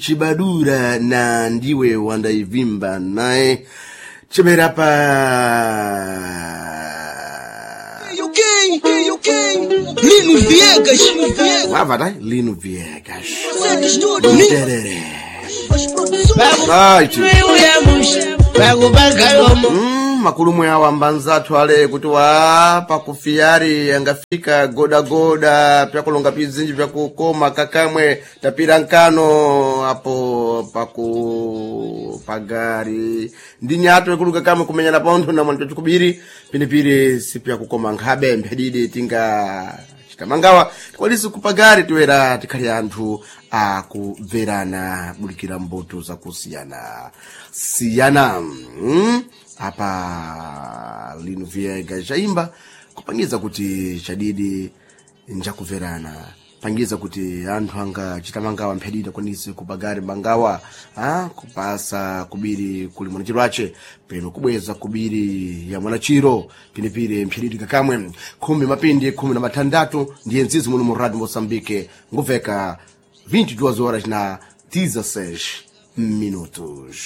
Chibadura na ndiwe wandaivimba naye chemera pa Ok. Lino Viegas. Wavata Lino Viegas. Consegues tudo. Tereré. Right. Makulumwe awo ambanzathu ale kuti wa pakufiyari angafika godagoda pyakulonga pizinji pyakukoma kakamwe tapira nkano apo paku pagari ndi nyato ikulu kakamwe kumenyana pontho na mwanto chikubiri pinipiri sipyakukoma nkhabe mphedidi tinga chitamangawa tikwalisi kupagari tiwera tikhali anthu akubverana bulikira mbuto zakusiyana siyana. Apa Lino Viegas chaimba kupangiza kuti chadidi njakubverana, pangiza kuti anthu anga chitamangawa mphedidi akwanise kupagari mangawa kupasa kubiri kuli mwanachiro ace peno kubweza kubiri ya mwanachiro pinipiri mphedidi kakamwe 16:16 ndiye nzizi muno mu Radio Moçambique nguveka 22 horas na 16 minutos.